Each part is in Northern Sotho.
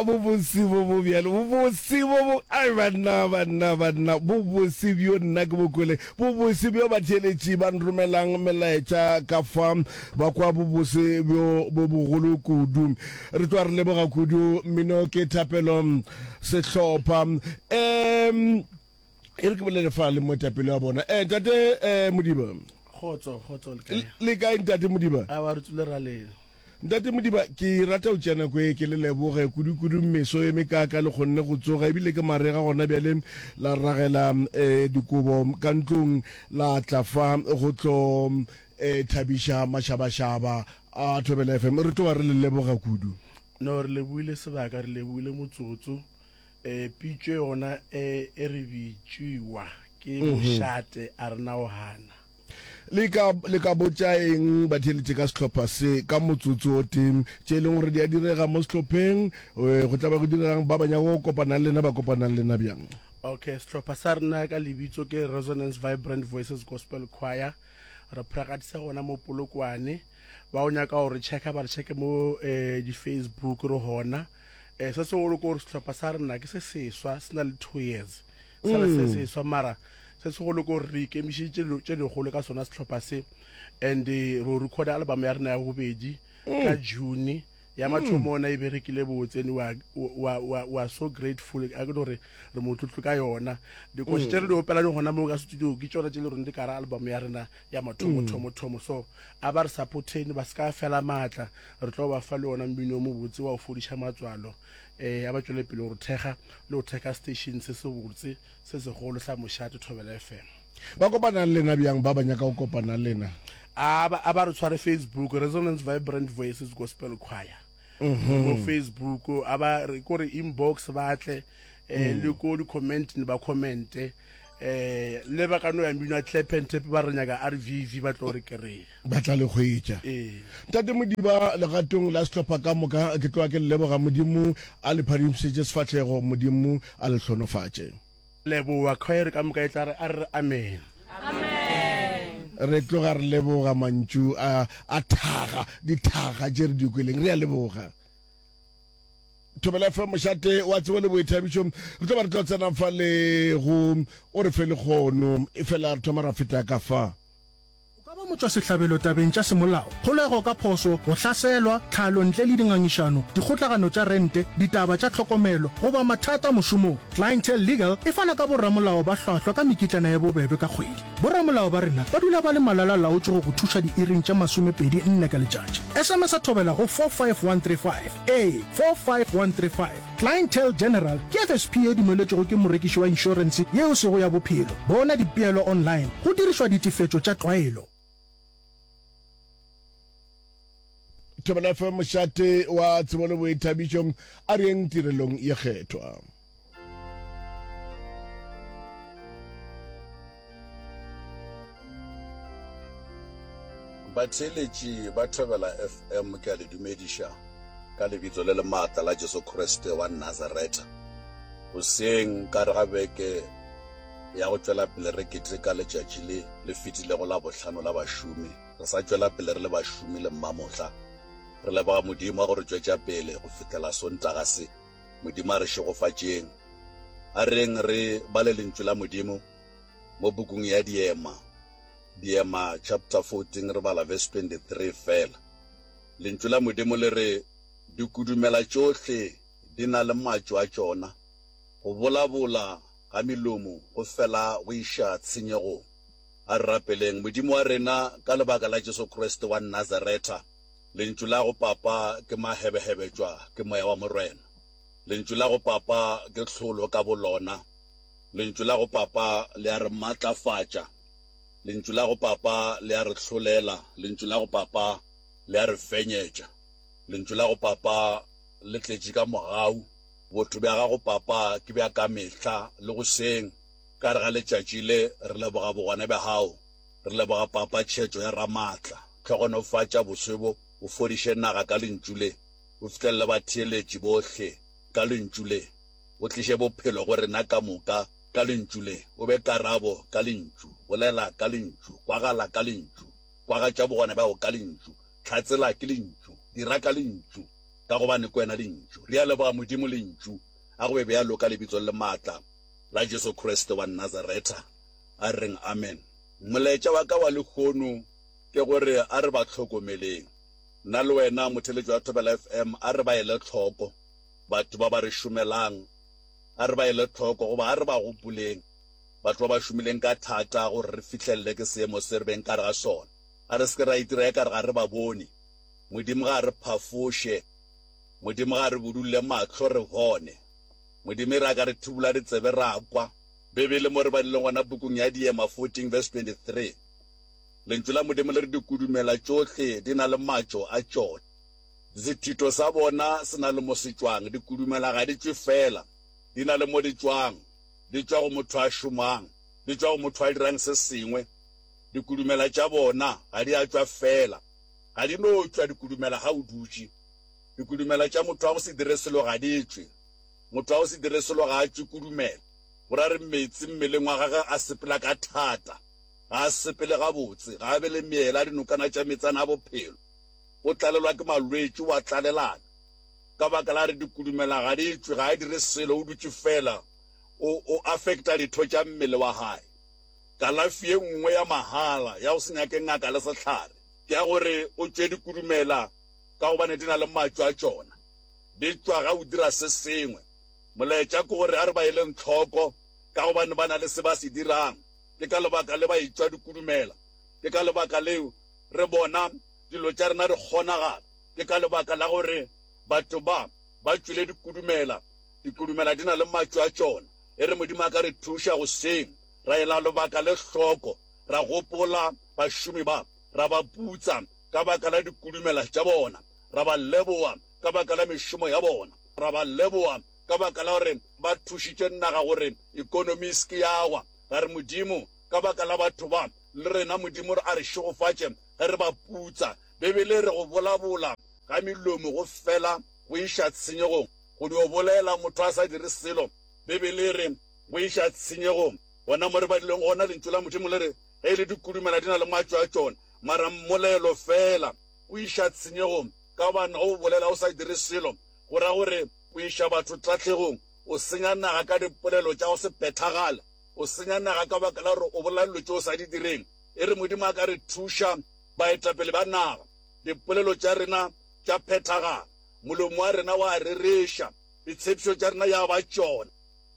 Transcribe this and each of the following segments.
bobose bo bo bjalo, bobose bo bo, ai banna, banna, banna, bobose bjo nna ke bo kwele, bobose bjo batheeletši ba nromelang melaetša ka fa, ba kwa bobose bjo bo bogolo kudu. Re tloga re leboga kudu mmino ke thapelo sehlopha. Um, e re ke bolele fa le moetapele wa bona. Eh, ntate eh, Modiba. Kgotso, kgotso le kae? Le kae ntate Modiba? Awa re tswile ra lena. Ntate Modiba, ke rata go tšea nako e ke le leboge kudu-kudu meso e mekaaka le kgonne go tsoga ebile ke marega gona bjale la ragela um dikobo ka ntlong la tla fa go tlo um thabiša mašabašaba a Thobela FM. Re tloga re le leboga kudu. No, re lebohile sebaka, re lebohile motsotso. Um pitšo yona e e re bitšiwa ke mošate a re na o gana. Le ka, le ka botša eng batheeletši ka sehlopha se ka motsotso o tee, tše e leng gore di a direga mo sehlopheng, go tla ba go diregang, ba ba nyaka go kopana le lena ba kopana le lena bjang? Okay, sehlopha sa rena ka lebitso ke Resonance Vibrant Voices Gospel Choir. Re practice gona mo Polokwane. Ba o nyaka go re checka ba re checke mo eh, di-Facebook re gona. Eh, se segolo ke gore sehlopha sa rena ke se seswa, se na le 2 years. Sa le se seswa mara Se segolo ke gore re ikemišeditše dilo tše dikgolo ka sona sehlopha se and eh, ro recorda album ya rena ya bobedi ka June. Ya mathomo ona e berekile botse and we are, we are, we are, we are so grateful a ke no re re motlotlo ka yona. Dikoši tše re di opelang gona mo ka studio ke tšona tše le reng di ka ra album ya rena ya mathomo thomo thomo. So a ba re supporteni ba se ka fela maatla, re tlo ba fa le ona mmino o mobotse wa go fodiša matswalo. Eh, a ba tšwele pele go re thekga le go thekga station se se botse Se segolo sa mošate Thobela FM. Ba kopana le lena bjang ba ba nyaka go kopana le lena? A ba, a ba re tshware Facebook, Resonance Vibrant Voices Gospel Choir. Mo Facebook, a ba re ko re inbox ba tle, eh, le ko di comment ne ba commente. Eh, le ba ka no ya mmino wa clap and tap ba re nyaka RVV ba tlo re kry-a. Ba tla le hwetša. Ee. Ntate Modiba, legatong la sehlopha ka moka, ke tloga ke le leboga. Modimo a le phadimišetše sefahlego. Modimo a le hlonofatše. Leboga. Khwaere ka moka e tla re, A re re amen. Re tloga re leboga mantšu a, a thaga, dithaga tše re di kweleng. Re a leboga. Thobela FM, mošate wa tsebo le boithabišo. Re tlo ba re tlo tsena fa le go o re fe lekgono, efela re thoma ra feta ka fa. O ka ba motšwasehlabelo tabeng tša semolao, kgolego ka phošo, go hlaselwa, tlhalo ntle le dingangišano, dikgotlagano tša rente, ditaba tša tlhokomelo, goba mathata mošomong. Clientele Legal e fana ka boramolao ba hlwahlwa ka mekitlana ye bobebe ka kgwedi. Boramolao ba rena ba dula ba le malala-laotšwe go go thuša diiring tše 24 ka letšatši. SMS-a Thobela go 45135. Ee, 45135. Clientele General ke FSP ye dumeletšwego ke morekiši wa inšorense ye e sego ya bophelo. Bona dipeelo online go dirišwa ditefetšo tša tlwaelo. Thobela FM, mošate wa tsebo le boithabišo, a re yeng tirelong ye kgethwa. Batheeletši ba Thobela FM ke a le dumediša ka lebitso le le maatla la Jesu Kriste wa Nazaretha. Goseng ka re ga beke ya go tšwela pele re keteka letšatši le le fetilego la bohlano la bašomi, re sa tšwela pele re le bašomi le mmamohla. Re leboga Modimo wa go re tšwetša pele go fihlela Sontaga se. Modimo a re šegofatšeng. A reng re bale Lentšu la Modimo mo pukung ya Diema, Diema chapter 14 re bala verse 23 fela. Lentšu la Modimo le re, Dikudumela tšohle di na le matšo a tšona, go bolabola ga melomo go fela go iša tshenyegong. A re rapeleng. Modimo wa rena, ka lebaka la Jesu Kriste wa Nazaretha, Lentšu la go Papa ke mahebehebetšwa ke Moya wa Morena. Lentšu la go Papa ke tlholo ka bolona. Lentšu la go Papa le a re matlafatša. Lentšu la go Papa le a re hlolela. Lentšu la go Papa le a re fenyetša. Lentšu la go Papa le tletše ka mogau. Botho bja gago Papa ke bja ka mehla le goseng. Ka gare ga letšatši le re leboga bogona bja gago. Re leboga Papa tšhetšo ya Ramaatla. Hlogonofatša boswe bo, o fodiše naga ka Lentšu le, o fihlelele batheeletši bohle ka Lentšu le, o tliše bophelo go rena ka moka ka Lentšu le, o be karabo ka Lentšu, bolela ka Lentšu, kwagala ka Lentšu, kwagatša bogona bja gago ka Lentšu, hlatsela ke Lentšu, dira ka Lentšu. Ka gobane ke wena Lentšu. Re a leboga Modimo Lentšu. A go be bjalo ka Lebitso le maatla la Jesu Kriste wa Nazaretha. A re reng amen. Molaetša wa ka wa lehono ke gore a re ba hlokomeleng. Nna le wena, motheeletši wa Thobela FM, a re ba ele hloko batho ba ba re šomelang. A re ba ele hloko goba a re ba gopoleng batho ba ba šomileng ka thata gore re fihlelele ke seemo se re beng ka re ga sona. A re se ke ra itira ekare ga re ba bone. Modimo ga a re phafoše. Modimo ga a re budulle mahlo re bone. Modimo e re a ka re thubula ditsebe ra kwa. Bibele mo re badileng gona pukung ya Diema 14 verse 23, Lentšu la Modimo le re dikudumela tšohle di na le matšo a tšona. Sethito sa bona se na le mo se tšwang. Dikudumela ga di tšwe feela, di na le mo di tšwang. Di tšwa go motho a šomang, di tšwa go motho a dirang se sengwe. Dikudumela tša bona ga di a tšwa feela. Ga di no tšwa dikudumela ga o dutše. Dikudumela tša motho wa go se dire selo ga di tšwe. Motho wa go se dire selo ga a tšwe kudumela. Go ra re meetse mmeleng wa gagwe a sepela ka thata. Ga a sepele gabotse. Ga a be le meela, dinokana tša meetsana a bophelo. O tlalelwa ke malwetši, o a tlalelana. Ka baka la re dikudumela ga di tšwe, ga a dire selo, o dutše feela. O, o affecta ditho tša mmele wa gae. Kalafi ye nngwe ya mahala ya go se nyake ngaka le sehlare ke ya gore o tšwe dikudumela ka gobane di na le matšo a tšona. Di tšwa ga o dira se sengwe. Molaetša ke gore a re ba eleng hloko ka gobane ba na le se ba se dirang. Ke ka lebaka le ba etšwa dikudumela. Ke ka lebaka leo re bona dilo tša rena di kgonagala. Ke ka lebaka la gore batho ba ba tšwile dikudumela. Dikudumela di na le matšo a tšona. E re Modimo a ka re thuša goseng, ra ela lebaka le hloko, ra gopola bašomi ba, ra ba putsa ka baka la dikudumela tša bona, ra ba leboga ka baka la mešomo ya bona, ra ba leboga ka baka la gore ba thušitše naga gore ekonomi e se ke ya wa, ra re, Modimo, ka baka la batho ba, le rena Modimo a re šegofatše ge re ba putsa. Bibele e re go bolabola ga melomo go fela go iša tshenyegong. Go dio bolela motho a sa dire selo, Bibele e re, go iša tshenyegong. Gona mo re badileng gona, Lentšu la Modimo le re, Ge e le dikudumela di na le matšo a tšona, mara mmolelo feela o iša tshenyegong. Ka gobane ge o bolela o sa dire selo, go ra gore o iša batho tahlegong. O senya naga ka dipolelo tša go se phethagale. O senya naga ka baka la gore o bolela dilo tše o sa di direng. E re Modimo a ka re thuša, baetapele ba naga, dipolelo tša rena tša phethagala. Molomo wa rena wa rereša, ditshepišo tša rena ya ba tšona.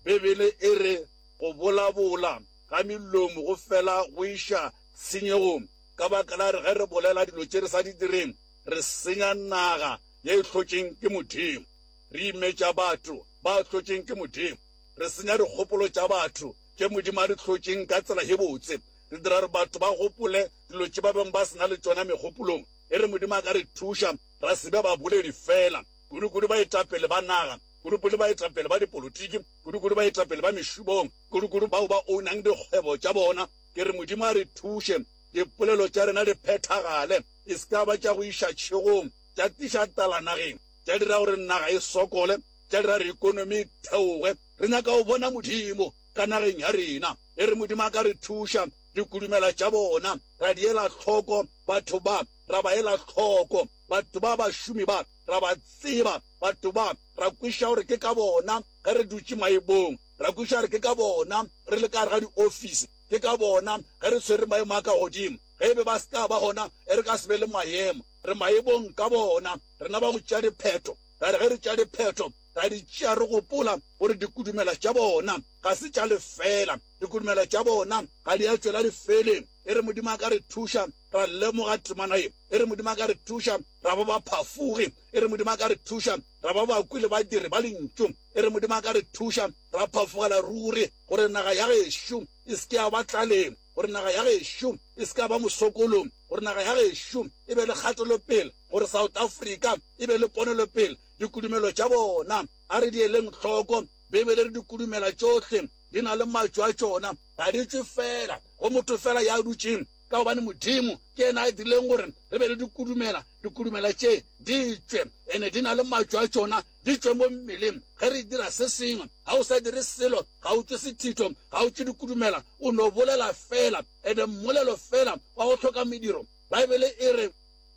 Bibele e re, Go bolabola ga melomo go fela go iša tshenyegong, ka baka la re ge re bolela dilo tše re sa di direng, re senya naga ye e hlotšeng ke Modimo. Re imetša batho ba hlotšeng ke Modimo. Re senya dikgopolo tša batho tše Modimo a di hlotšeng ka tsela ye botse. Re dira gore batho ba gopole dilo tše ba beng ba se na le tšona megopolong. E re Modimo a ka re thuša ra se be baboledi feela, kudu-kudu baetapele ba naga, kudu-kudu baetapele ba dipolotiki, kudu-kudu baetapele ba mešomong, kudu-kudu bao ba ownang dikgwebo tša bona. Ke re Modimo a re thuše, dipolelo tša rena di phethagale, e se ka ba tša go iša tšhegong, tša tliša tlala nageng, tša dira gore naga e sokole, tša dira gore ekonomi e theoge. Re nyaka go bona Modimo ka nageng ya rena. E re Modimo a ka re thuša, dikudumela tša bona ra di ela hloko, batho ba ra ba ela hloko, batho ba bašomi ba ra ba tseba, batho ba ra kwešiša gore ke ka bona ge re dutše maemong, ra kwešiša gore ke ka bona re le ka gare ga diofisi, ke ka bona ge re tshwere maemo a ka godimo. Ge e be ba se ka ba gona, e re ka se be le maemo. Re maemong ka bona, rena ba go tšea diphetho. Ra re ge re tšea diphetho, ra di tšea re gopola gore dikudumela tša bona ga se tša lefeela, dikudumela tša bona ga di a tšwela lefeleng. E re Modimo a ka re thuša ra lemoga temana ye. E re Modimo a ka re thuša ra ba baphafogi. E re Modimo a ka re thuša ra ba bakwi le badiri ba Lentšu. E re Modimo a ka re thuša ra phafogela ruri gore naga ya gešo e se ke ya ba tlaleng, gore naga ya gešo e se ke ya ba mosokolong, gore naga ya gešo e be le kgatelopele, gore South Africa e be le ponelopele. Dikudumelo tša bona a re di eleng hloko. Beibele e re dikudumela tšohle di na le matšo a tšona. Ga di tšwe feela go motho feela ya dutšeng, ka gobane Modimo ke yena a dirileng gore re be le dikudumela. Dikudumela tše di tšwe, ene di na le matšo a tšona, di tšwe mo mmeleng ge re dira se sengwe. Ga o sa dire selo, ga o tšwe sethitho, ga o tšwe dikudumela, o no bolela feela, ene mmolelo feela wa go hloka mediro. Baebele e re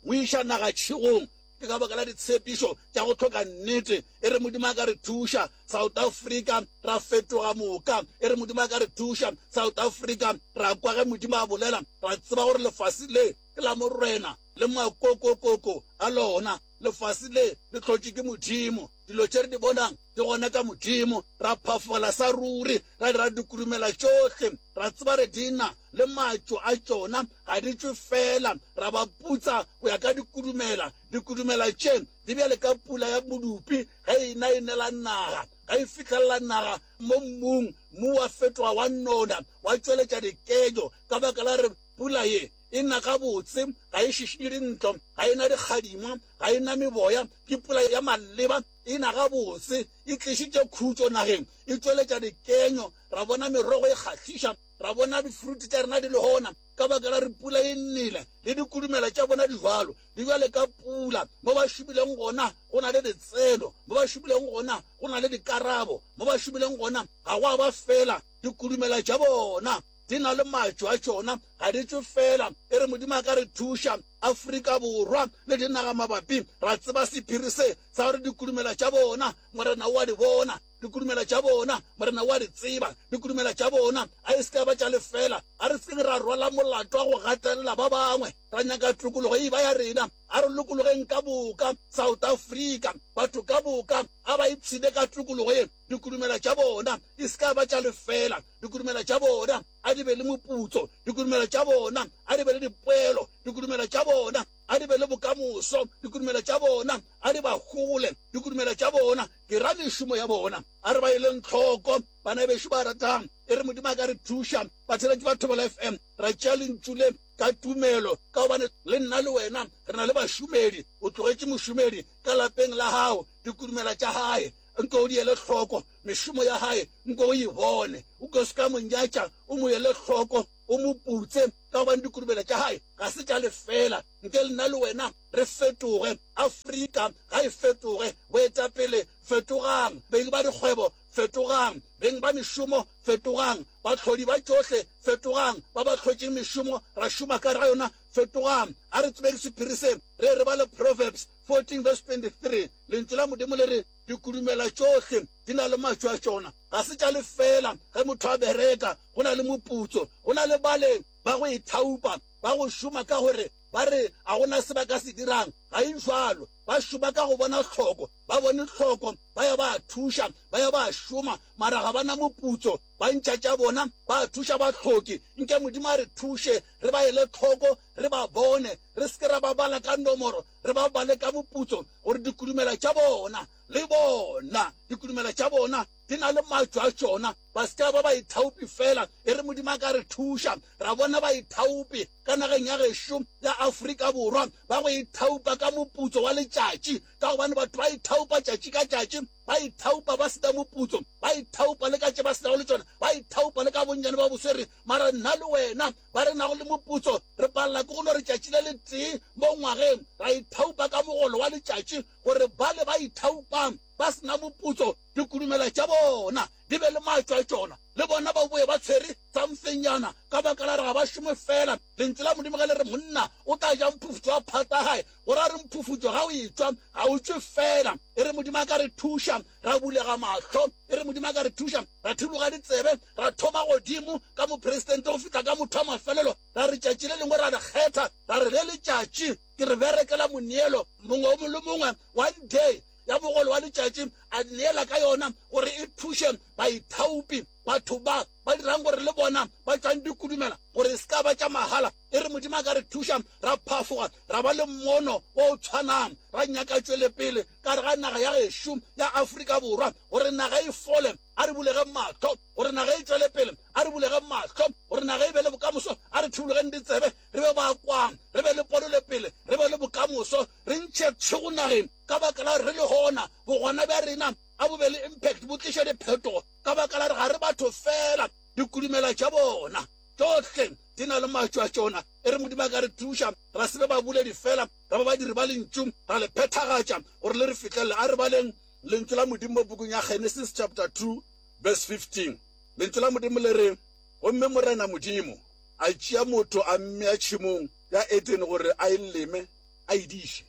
o iša naga tšhegong. Ke ka baka la ditshepišo tša go hloka nnete. E re Modimo a ka re thuša, South Africa, ra fetoga moka. E re Modimo a ka re thuša, South Africa, ra kwa ge Modimo a bolela, ra tseba gore lefase le ke la Morena le makokokoko a lona. Lefase le le hlotšwe ke Modimo. Dilo tše re di bonang di gona ka Modimo. Ra phafogela sa ruri, ra dira dikurumela tšohle, ra tseba re di na le matšo a tšona, ga di tšwe feela. Ra ba putsa go ya ka dikurumela. Dikurumela tše di bjale ka pula ya modupi ge e na e nela naga. Ge e fihlelela naga mo mmung, mmu wa fetoga wa nona, wa tšweletša dikejo ka baka la gore pula ye e na gabotse, ga e šišinye dintlo, ga e na dikgadima, ga e na meboya, ke pula ya maleba, e na gabotse, e tlišitše khutšo nageng, e tšweletša dikenyo, ra bona merogo e kgahliša, ra bona difruti tša rena di le gona, ka baka la gore pula e nele, le dikudumela tša bona di jwalo, di bjale ka pula. Mo ba šomileng gona go na le ditseno, mo ba šomileng gona go na le dikarabo, mo ba šomileng gona ga gwa ba fela dikudumela tša bona. Di na le matšo a tšona, ga di tšwe feela. E re Modimo a ka re thuša, Afrika Borwa le dinaga mabapi, ra tseba sephiri se sa gore dikudumela tša bona, Morena o a di bona. Dikudumela tša bona, Morena o a di tseba. Dikudumela tša bona a e se ka ba tša lefeela. A re se keng ra rwala molato wa go gatelela ba bangwe, ra nyaka tokologo e eba ya rena. A re lokologeng ka boka South Africa. Batho ka boka a ba ipshine ka tokologo ye. Dikudumela tša bona e se ka ba tša lefeela. Dikudumela tša bona a di be le moputso. Dikudumela tša bona a di be le dipoelo. Dikudumela tša bona a di be le bokamoso. Dikudumela tša bona a di ba hole. Dikudumela tša bona, ke ra mešomo ya bona, a re ba eleng hloko. Bana bešo ba ratang, e re Modimo a ka re thuša, batheeletši ba Thobela FM, ra tšea lentšu le ka tumelo, ka gobane le nna le wena re na le bašomedi. O tlogetše mošomedi ka lapeng la gago, dikudumela tša gae nke o di ele hloko, mešomo ya gae nke o e bone. O ke se ka mo nyatša, o mo ele hloko, o mo putse, ka gobane dikurumela tša gae ga se tša lefeela. Nke nna le wena re fetoge. Afrika ga e fetoge. Boetapele, fetogang. Beng ba dikgwebo, fetogang. Beng ba mešomo, fetogang. Bahlodi ba tšohle, fetogang. Ba ba hlotšeng mešomo, ra šoma ka ga yona, fetogang. A re tsebeng sephiri se, re re bale Proverbs 14 verse 23. Lentšu la Modimo le re, Dikudumela tšohle di na le matšo a tšona, ga se tša lefeela. Ge motho a bereka, go na le moputso. Go na le bale ba go ithaupa, ba go šoma ka gore ba re ga go na se ba ka se dirang. Ga e bjalo. Ba šoma ka go bona hloko. Ba bone hloko, ba ya ba thuša, ba ya ba šoma, mara ga ba na moputso. Ba ntšha tša bona, ba thuša bahloki. Nke Modimo a re thuše re ba ele hloko, re ba bone, re se ke ra ba bala ka nomoro, re ba bale ka moputso, gore dikudumela tša bona le bona, dikudumela tša bona di na le matšo a tšona, ba se ke ba ba baithaopi feela. E re Modimo a ka re thuša, ra bona baithaopi ka nageng ya gešo ya Afrika Borwa ba go ithaopa ka moputso wa letšatši, ka gobane batho ba ithaopa tšatši ka tšatši, ba ithaopa ba se na moputso, ba ithaopa le ka tše ba se nago le tšona, ba ithaopa le ka bonnyane ba boswere. Mara nna le wena ba re nago le moputso re palela ke go no re tšatši le letee mo ngwageng ra ithaopa ka mogolo wa letšatši, gore bale ba ithaopang ba se na moputso dikudumela tša bona di be le matšo a tšona, le bona ba boe ba tshwere somethingnyana, ka baka la gore ga ba šome fela. Lentšu la Modimo ge le re monna o tla ja mphufutšo wa phata ya gae, go ra re mphufutšo ga o etšwa ga o tšwe fela. E re Modimo a ka re thuša ra bulega mahlo, e re Modimo a ka re thuša ra thiloga ditsebe, ra thoma godimo ka mopresidente go fihla ka motho wa mafelelo, ra re tšatši le lengwe ra le kgetha, ra re le letšatši ke re berekela moneelo mongwe le mongwe one day ya mogolo wa letšatši a neela ka yona gore e thuše baithaopi, batho ba ba dirang gore le bona ba tšwang dikudumela gore e se ka ba tša mahala. E re Modimo a ka re thuša ra phafoga ra ba le mmono o tshwanang, ra nyaka tšwelepele ka gare ga naga ya gešo ya Afrika Borwa gore naga e fole. A re bulegeng mahlo gore naga e tšwele pele. A re bulegeng mahlo gore naga e be le bokamoso. A re thibulogeng ditsebe re be ba kwang, re be le ponolepele, re be le bokamoso, re ntšhe tšhego nageng ka baka la gore re le gona. Bogona bja rena a bo be le impact, bo tliše diphetogo ka baka la gore ga re batho feela. Dikudumela tša bona tšohle di na le matšo a tšona. E re Modimo a ka re thuša ra se be baboledi feela, ra ba badiri ba Lentšu, ra le phethagatša gore le re fihlelele. A re baleng Lentšu la Modimo mo pukung ya Genesis chapter 2 verse 15. Lentšu la Modimo le re, Gomme Morena Modimo a tšea motho a mmea tšhemong ya Edene gore a e leme a e diše.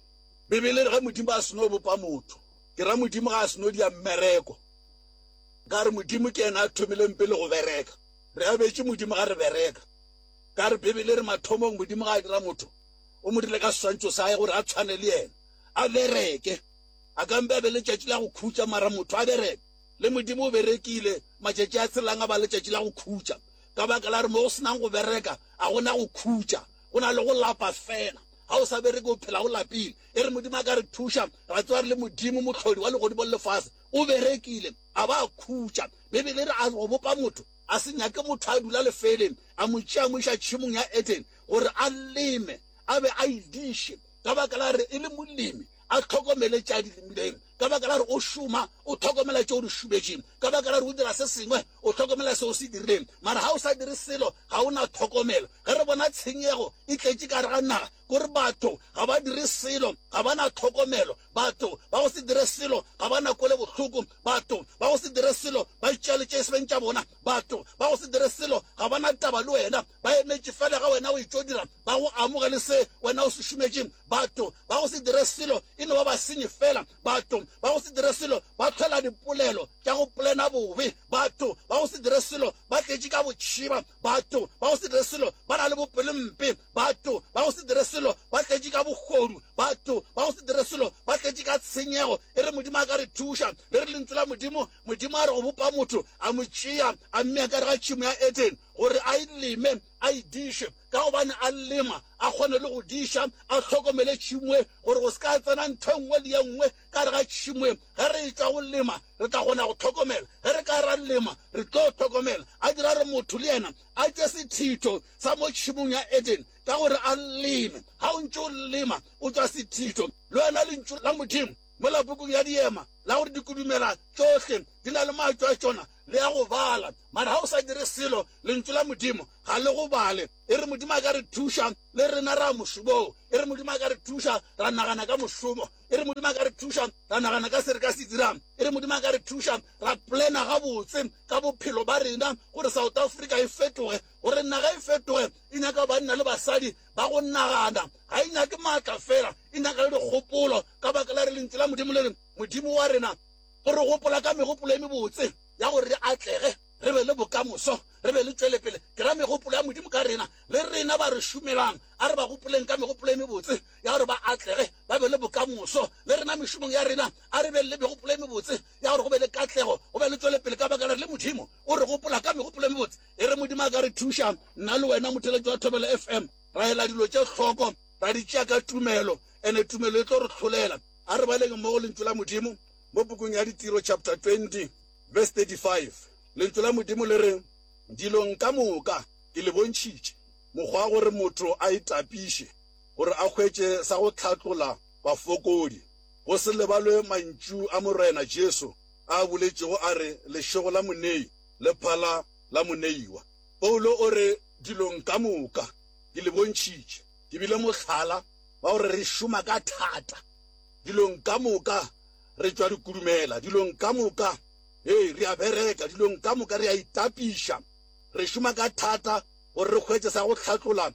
Bibele e re ge Modimo a seno bopa motho, ke ra Modimo ga a seno dia mmereko. Ka re Modimo ke yena a thomileng pele go bereka. Re abetše Modimo ga re bereka. Ka re Bibele e re mathomong Modimo ga a dira motho, o mo dirile ka seswantšho sa hae gore a tshwane le yena, a bereke. A ka mpe a be letšatši la go khutša, mara motho a bereke. Le Modimo o berekile matšatši a tshelang a ba letšatši la go khutša. Ka baka la gore mo go senang go bereka, a go na go khutša, go na le go lapa fela. Ga o sa bereke o phela o lapile. E re Modimo a ka re thuša, ra tseba re le Modimo Mohlodi wa legodimo le lefase, o berekile, a ba a khutša. Bibele e re a go bopa motho, a se nyake motho a dula lefeeleng, a mo tšea a mo iša tšhemong ya Edene gore a leme, a be a e diše. Ka baka la gore e le molemi, a hlokomele tše a di lemileng. Ka baka la gore o šoma, o hlokomela tše o di šometšeng. Ka baka la gore o dira se sengwe, o hlokomela se o se dirileng. Mara ga o sa dire selo, ga o na tlhokomelo. Ge re bona tshenyego e tletše ka gare ga naga, ke gore batho ga ba dire selo, ga ba na tlhokomelo. Batho ba go se dire selo ga ba na kwelebohloko. Batho ba go se dire selo ba itšea le tše e seng tša bona. Batho ba go se dire selo ga ba na taba le wena, ba emetše fela ge wena o etšo dira, ba go amogele se wena o se šometšeng. Batho ba go se dire selo e no ba basenyi fela. Batho ba go se dire selo ba hlola dipolelo tša go polena bobe. Batho ba go se dire selo ba tletše ka botšhiba. Batho ba go se dire selo ba na le bopelompe. Batho ba go se dire selo ba tletše ka bohodu. Batho ba go se dire selo ba tletše ka tshenyego. E re Modimo a ka re thuša. Le re Lentšu la Modimo, Modimo a re go bopa motho, a mo tšea, a mmea ka gare ga tšhemo ya Edene, gore a e leme, a e diše. Ka gobane a lema, a kgone le go diša, a hlokomele tšhemo e, gore go se ka tsena ntho e nngwe le ye nngwe ka gare ga tšhemo e. Ge re etšwa go lema, re tla kgona go hlokomela. Ge re ka ra lema, re tlo hlokomela. A dira gore motho le yena a tšwe sethitho sa mo tšhemong ya Edene, ka gore a leme. Ga o ntše o lema, o tšwa sethitho. Le wena Lentšu la Modimo, mola pukung ya Diema, la gore dikudumela tšohle di na le matšo a tšona, le ya go bala. Mara ga o sa dire selo, Lentšu la Modimo ga le go bale. E re Modimo a ka re thuša, le rena ra mošomong. E re Modimo a ka re thuša, ra nagana ka mošomo. E re Modimo a ka re thuša, ra nagana ka se re ka se dirang. E re Modimo a ka re thuša, ra plana gabotse ka bophelo ba rena gore South Africa e fetoge. Gore naga e fetoge e nyaka banna le basadi ba go nagana. Ga e nyake maatla fela, e nyaka le dikgopolo. Ka baka la re Lentšu la Modimo le re, Modimo wa rena o re gopola ka megopolo e mebotse ya gore re atlege, re be le bokamoso, re be le tšwelepele. Ke ra megopolo ya Modimo ka rena. Le rena ba re šomelang, a re ba gopoleng ka megopolo e mebotse ya gore ba atlege, ba be le bokamoso. Le rena mešomong ya rena, a re beng le megopolo e mebotse ya gore go be le katlego, go be le tšwelepele, ka baka la gore le Modimo o re gopola ka megopolo e mebotse. E re Modimo a ka re thuša, nna le wena motheeletši wa Thobela FM, ra ela dilo tše hloko, ra di tšea ka tumelo, ene tumelo e tlo re hlolela. A re baleng mmogo Lentšu la Modimo mo pukung ya Ditiro chapter 20 verse 35. Lentšu la Modimo le re, Dilong ka moka ke le bontšhitše mokgwa wa gore motho a itapiše gore a hwetše sa go hlatlola bafokodi, go se lebalwe mantšu a Morena Jesu a a boletšego a re, Lešego la monei le phala la moneiwa. Paulo o re, Dilong ka moka ke le bontšhitše, ke bile mohlala wa gore re šoma ka thata dilong ka moka, re tšwa re kudumela dilong ka moka, ee, re a bereka dilong ka moka, re a itapiša, re šoma ka thata gore re hwetše sa go hlatlola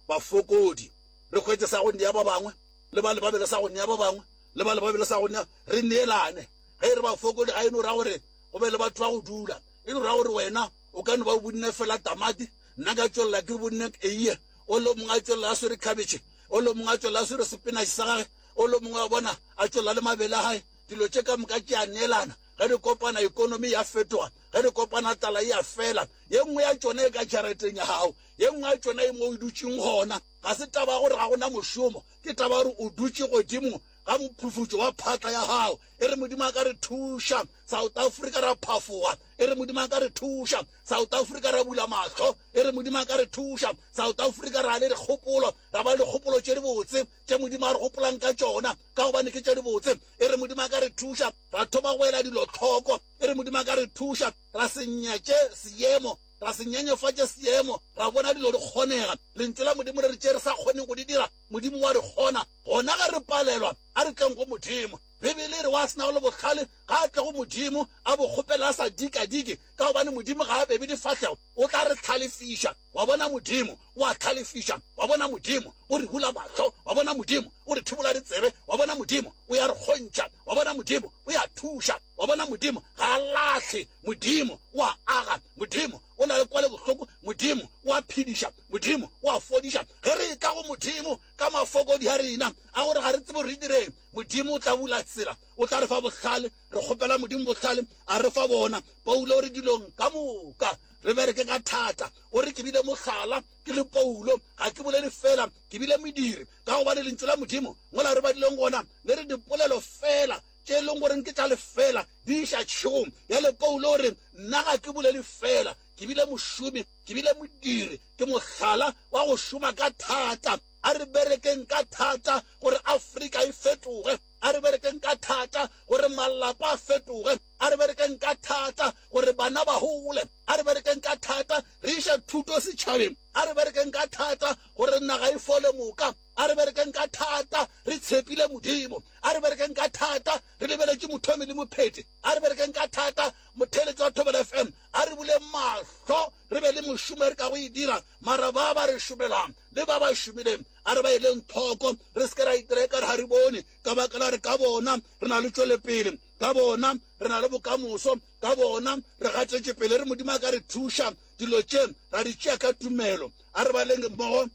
bafokodi, re hwetše sa go nea ba bangwe, le bale ba be le sa go nea ba bangwe, le bale ba be le sa go nea, re neelane. Ge e re bafokodi ga e no ra gore go be le batho ba go dula, e no ra gore wena o ka no ba o bunne fela tamati, nna ka tšwelela ke bunne eiye, o le mongwe a tšwelela a swere khabetšhe, o le mongwe a tšwelela a swere sepinatšhe sa gage, o le mongwe wa bona a tšwelela le mabele a gae. Dilo tše ka moka tše a neelana. Ge di kopana, ekonomi ya fetoga. Ge di kopana, tlala e a fela. Ye nngwe ya tšona e ka jarateng ya gago, ye nngwe ya tšona e mo o dutšeng gona. Ga se taba ya gore ga go na mošomo, ke taba ya gore o dutše godimo ga mophufutšo wa phatla ya gago. E re Modimo a ka re thuša, South Africa ra phafoga. E re Modimo a ka re thuša, South Africa ra bula mahlo. E re Modimo a ka re thuša, South Africa ra le dikgopolo, ra ba le dikgopolo tše dibotse tše Modimo a re gopolang ka tšona, ka gobane ke tše dibotse. E re Modimo a ka re thuša, ra thoma go ela dilo hloko. E re Modimo a ka re thuša, ra se nyatše seemo. Ra se nyenyefatše seemo, ra bona dilo di kgonega. Lentšu la Modimo le re tše re sa kgoneng go di dira, Modimo wa re kgona. Gona ge re palelwa, a re tleng go Modimo. Bibele e re, Wa se nago le bohlale, ga a tle go Modimo, a bo kgopele a sa dikadike, ka gobane Modimo ga a bebe difahlego, o tla re hlalefiša. Wa bona, Modimo o a hlalefiša. Wa bona, Modimo o re bula mahlo. Wa bona, Modimo o re thibola ditsebe. Wa bona, Modimo o ya re kgontšha. Wa bona, Modimo o ya thuša. Wa bona, Modimo ga a lahle. Modimo o a aga. Modimo o na le kwalobohloko. Modimo o a phediša. Modimo o a fodiša. Ge re etla go Modimo ka mafokodi a rena a gore ga re tsebe gore re direng, Modimo o tla bula tsela. O tla re fa bohlale. Re kgopela Modimo bohlale, a re fa bona. Paulo o re dilong ka moka re bereke ka thata. O re ke bile mohlala ke le Paulo, ga ke bolele fela, ke bile modiri. Ka gobane Lentšu la Modimo mola re badileng gona le re dipolelo fela tše e leng goreng ke tša lefela di iša tšhegong. Bjale Paulo o re, Nna ga ke bolele fela, ke bile mošomi, ke bile modiri, ke mohlala wa go šoma ka thata. A re berekeng ka thata gore Afrika e fetoge. A re berekeng ka thata gore malapa a fetoge. A re berekeng ka thata gore bana ba gole. A re berekeng ka thata re iše thuto setšhabeng. A re berekeng ka thata gore naga e fole moka. A re berekeng ka thata re tshepile Modimo. A re berekeng ka thata re lebeletše Mothomi le Mopheti. A re berekeng ka thata, motheeletši wa Thobela FM. A re buleng mahlo re be le mošomo e re kago e dira. Mara ba ba re šomelang le ba ba šomileng a re ba eleng tlhoko, re se ke ra itira ekare ga re bone, ka baka la gore ka bona re na le tšwelepele, ka bona re na le bokamoso, ka bona re gatetše pele. Re Modimo a ka re thuša, dilo tše ra di tšea ka tumelo. A re baleng mmogo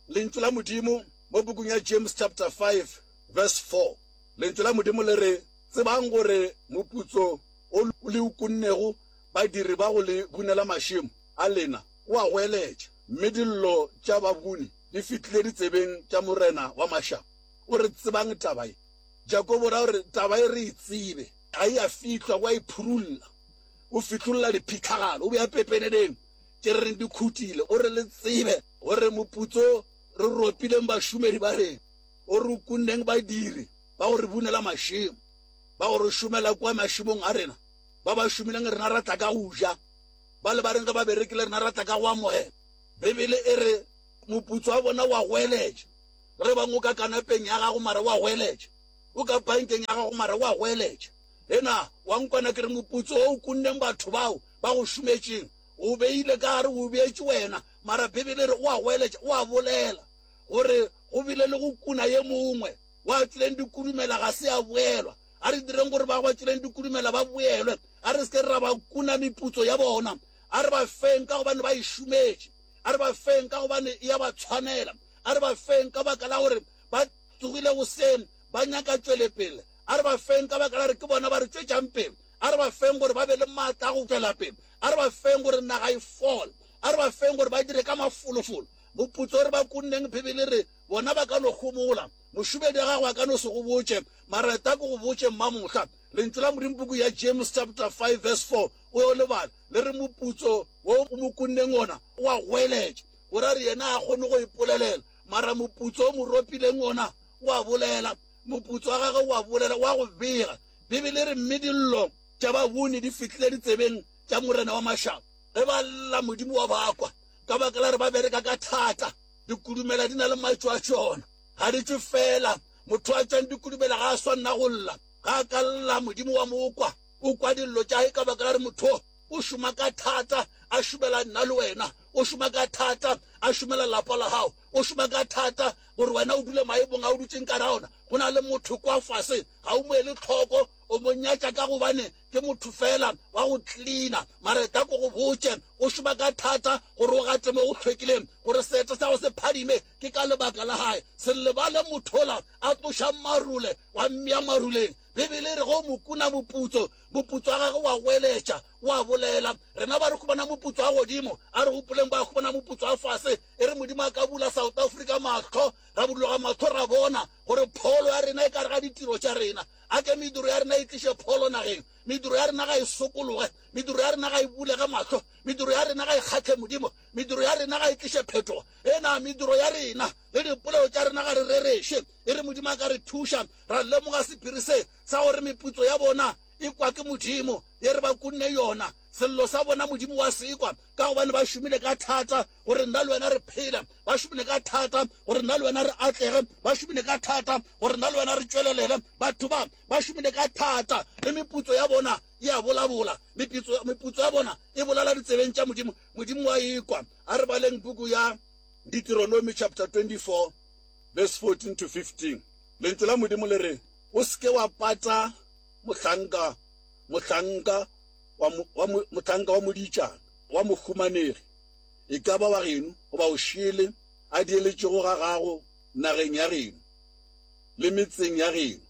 Lentšu la Modimo mo pukung ya James chapter 5 verse 4. Lentšu la Modimo le re, Tsebang gore moputso o le o kunnego badiri ba go le bunela mašemo a lena o a goeletša, mme dillo tša babuni di fihlile ditsebeng tša Morena wa mašaba. O re, Tsebang taba ye. Jakobo o ra gore taba ye re e tsebe. Ga e a fihlwa, o a e phurulla. O fihlolla diphihlagalo, o bea pepeneneng tše re reng di khutile. O re le tsebe gore moputso re ropileng bašomedi ba rena, o re o kunneng badiri ba go re bunela mašemo, ba go re šomela kua mašemong a rena, ba ba šomileng rena ra tla ka go ja, ba le ba reng ge ba berekile rena ra tla ka go amogela. Bibele e re moputso wa bona o a goeletša. Ge bang o ka kanapeng ya gago mara o a goeletša, o ka pankeng ya gago mara o a goeletša. Ena wa nkwana ke re moputso wo o kunneng batho bao ba go šometšeng o beile ka gare o beetše wena, mara Bibele e re o a goeletša, o a bolela gore go bile le go kuna ye mongwe wa tšwileng dikudumela ga se a boelwa. A re direng gore ba ba tšwileng dikudumela ba boelwe, a re se ke ra ba kuna meputso ya bona. A re ba feng ka gobane ba e šometše, a re ba feng ka gobane e a ba tshwanela, a re ba feng ka baka la gore ba tsogile goseng ba nyaka tšwelepele, a re ba feng ka baka la gore ke bona ba re tšwetšang pele, a re ba feng gore ba be le maatla a go tšwela pele, a re ba feng gore naga e fole, a re ba feng gore ba dire ka mafolofolo. Moputso o re ba kunneng, Bibele e re, bona ba ka no homola. Mošomedi wa gago a ka no se go botše, mara eta ke go botše, mmamohla. Lentšu la Modimo, puku ya James chapter 5 verse 4, o yo le bala, le re moputso wo o mo kunneng wona o a goeletša. Go ra re yena ga a kgone go ipolelela, mara moputso o mo ropileng wona o a bolela. Moputso wa gagwe o a bolela, o a go bega. Bibele e re, Mme dillo tša babuni di fihlile ditsebeng tša Morena wa mašaba. Ge ba lla, Modimo wa ba kwa, ka baka la gore ba bereka ka thata. Dikudumela di na le matšo a tšona, ga di tšwe feela. Motho a tšwang dikudumela ga a swanna go lla. Ga a ka lla, Modimo wa mo kwa. O kwa dillo tša hae ka baka la gore motho o šoma ka thata a šomela nna le wena. O šoma ka thata a šomela lapa la gago. O šoma ka thata gore wena o dule maemong a o dutšeng ka ona. Go na le motho kwa fase, ga o mo ele tlhoko, o mo nyatša ka gobane ke motho feela wa go cleaner. Mara eta ko go botše, o šoma ka thata gore o gate mo go hlwekileng, gore seeta sa gago se phadime. Ke ka lebaka la gae. Se lebale motho ola a tlošang marole wa mmea maruleng. Bibele e re ge o mo kuna moputso, moputso wa gagwe wa goeletša, wa bolela. Rena ba re humana moputso wa godimo, a re gopoleng ba humana moputso wa fase. E re Modimo a ka bula South Africa mahlo, ra buduloga mahlo ra bona gore pholo ya rena e ka re ga ditiro tša rena. A ke mediro ya rena e tliše pholo nageng. Mediro ya rena ga e sokologe, mediro ya rena ga e bulege mahlo, mediro ya rena ga e kgahle Modimo, mediro ya rena ga e tliše phetogo. E na mediro ya rena le dipolelo tša rena ga re rereše. E re Modimo a ka re thuša ra lemoga sephiri se sa gore meputso ya bona e kwa ke Modimo, ye re ba kunne yona. Sello sa bona Modimo wa se kwa, ka gobane ba šomile ka thata gore nna le wena re phele, ba šomile ka thata gore nna le wena re atlege, ba šomile ka thata gore nna le wena re tšwelelele. Batho ba ba šomile ka thata, le meputso ya bona e a bolabola, meputso, meputso ya bona e bolela ditsebeng tša Modimo. Modimo wa e kwa. A re baleng puku ya Deuteronomy chapter 24 verse 14 to 15. Lentšu la Modimo le re, O se ke wa pata mohlanka, mohlanka wa, wa, mohlanka wa modiitšana, wa mohumanegi, e ka ba wa geno goba o šele, a dieletšego ga gago nageng ya geno le metseng ya geno,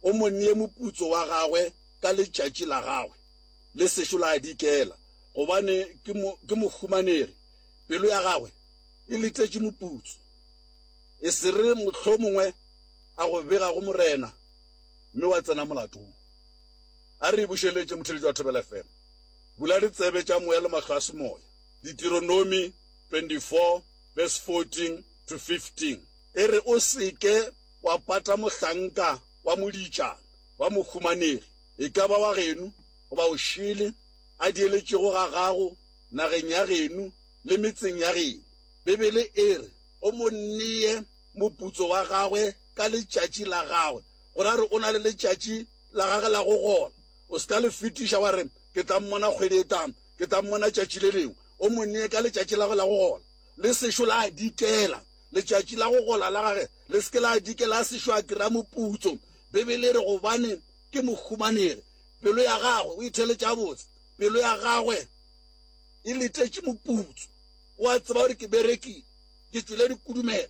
o mo nee moputso wa gagwe ka letšatši la gagwe, le sešo la dikela, gobane ke, mo, ke mohumanegi, pelo ya gagwe e letetše moputso. E se re mohlomongwe a go bega go Morena, mme wa tsena molatong. A re e bušeletše, motheeletši wa Thobela FM. Bula ditsebe tša moya le mahlo a semoya. Deuteronomy 24 verse 14 to 15 e re, O se ke wa pata mohlanka wa modiitšana wa mohumanegi, e ka ba wa geno goba o šele, a dieletšego ga gago nageng ya geno le metseng ya geno. Bibele e re, O mo nee moputso wa gagwe ka letšatši la gagwe. Go ra re o na le letšatši la gage la go gola. O se ka le fetiša wa re, Ke tla mmona kgwedi e tlang, ke tla mmona tšatši le lengwe. O mo nee ka letšatši la gagwe la go gola. Le sešo la dikela. Letšatši la go gola la gage le se ke la dikela a sešo a kry-a moputso. Bibele e re, Gobane ke mohumanegi. Pelo ya gagwe, o itheeletše gabotse, pelo ya gagwe e letetše moputso. O a tseba gore ke berekile, ke tšwele dikudumela.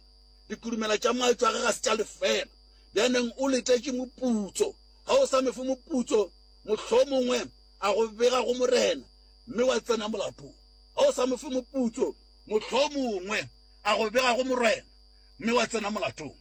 Dikudumela tša matšo a ge ga se tša lefeela. Bjaneng o letetše moputso. Ga o sa me fe moputso, mohlomongwe a go bega go Morena, mme wa tsena molatong. Ga o sa mo fe moputso, mohlomongwe a go bega go Morena, mme wa tsena molatong.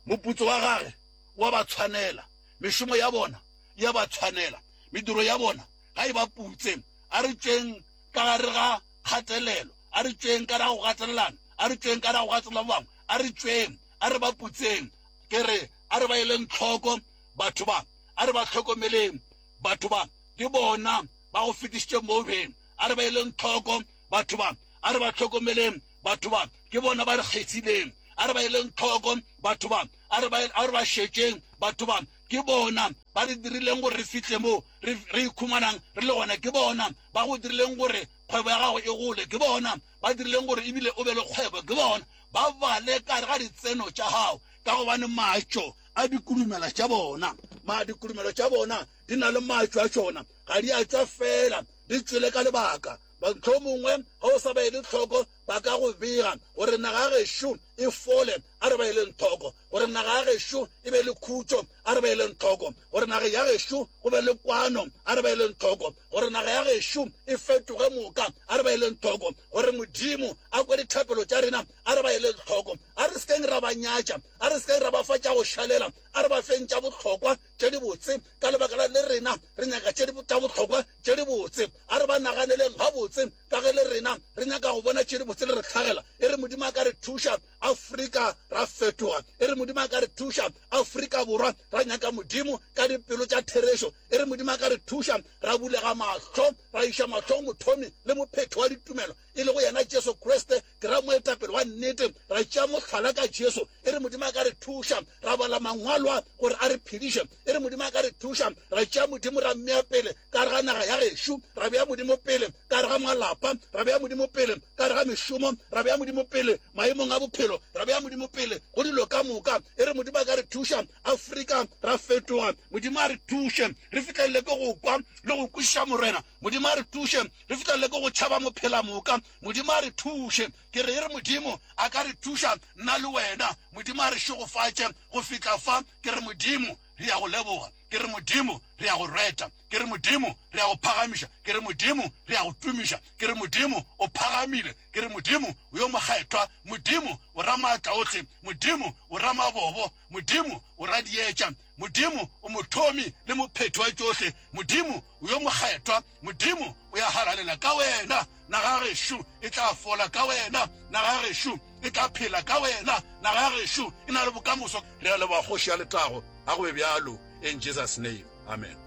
Moputso wa gage wa ba tshwanela, mešomo ya bona e a ba tshwanela, mediro ya bona ga e ba putse. A re tšweng ka gare ga kgatelelo, a re tšweng ka gare ga go gatelelana, a re tšweng ka gare ga go gatelela ba bangwe, a re tšweng, a re ba putseng. Ke re, a re ba eleng hloko batho ba, a re ba hlokomeleng batho ba, ke bona ba go fetišitše mo beng. A re ba eleng hloko batho ba, a re ba hlokomeleng batho ba, ke bona ba re kgethileng. A re ba eleng hloko batho ba, a re ba, a re ba šetšeng batho ba, ke bona ba re dirileng gore re fihle mo re, re ikhumanang re le gona. Ke bona ba go dirileng gore kgwebo ya gago e gole. Ke bona ba dirileng gore ebile o be le kgwebo. Ke bona ba bale ka gare ga ditseno tša gago, ka gobane matšo a dikulumela tša bona, ma dikulumelo tša bona di na le matšo a tšona, ga di a tšwa feela, di tšwele ka lebaka. Mohlomongwe ge o sa ba ele hloko, ba ka go bega gore naga ya gešo e fole, a re ba eleng hloko, gore naga ya gešo e be le khutšo, a re ba eleng hloko, gore naga ya gešo go be le kwano, a re ba eleng hloko, gore naga ya gešo e fetoge moka, a re ba eleng hloko, gore Modimo a kwe dithapelo tša rena, a re ba eleng hloko. A re se keng ra ba nyatša, a re se keng ra ba fa tša go šalela, a re ba feng tša bohlokwa tše dibotse, ka lebaka la le rena re nyaka tše tša bohlokwa tše dibotse. A re ba naganeleng gabotse, ka ge le rena re nyaka go bona tše dibotse le re hlagela. E re Modimo a ka re thuša, Afrika ra fetoga. E re Modimo a ka re thuša, Afrika Borwa ra nyaka Modimo ka dipelo tša therešo. E re Modimo a ka re thuša, ra bulega mahlo, ra iša mahlo go Mothomi le Mophethi wa ditumelo, e lego yena Jesu Kriste, Ke ra moetapele wa nnete, ra tšea mohlala ka Jesu. E re Modimo a ka re thuša, ra bala Mangwalo a gore a re phediše. E re Modimo a ka re thuša, ra tšea Modimo ra mmea pele ka gare ga naga ya gešo, ra bea Modimo pele ka gare ga malapa, ra bea Modimo pele ka gare ga mešomo, ra bea Modimo pele maemong a bophelo, ra bea Modimo pele go dilo ka moka. E re Modimo a ka re thuša, Afrika ra fetoga. Modimo a re thuše re fihlelele ke go kwa le go kwešiša Morena. Modimo a re thuše re fihlelele ke go tšhaba mophelamoka. Modimo a re thuše. Ke re e re Modimo a ka re thuša nna le wena. Modimo a re šegofatše go fihla fa. Ke re Modimo re ya go leboga. Ke re Modimo re ya go reta. Ke re Modimo re ya go phagamiša. Ke re Modimo re ya go tumiša. Ke re Modimo o phagamile. Ke re Modimo o yo mokgethwa. Modimo o Ramaatlaohle. Modimo o Ramabobo. Modimo o Radietša. Modimo o Mothomi le Mophethi wa tšohle. Modimo o yo mokgethwa. Modimo o ya halalela ka wena. Naga ya gešo e tla fola ka wena. Naga ya gešo e tla phela ka wena. Naga ya gešo e na le bokamoso. Re a leboga Kgoši ya Letago. A go be bjalo. In Jesus name. Amen.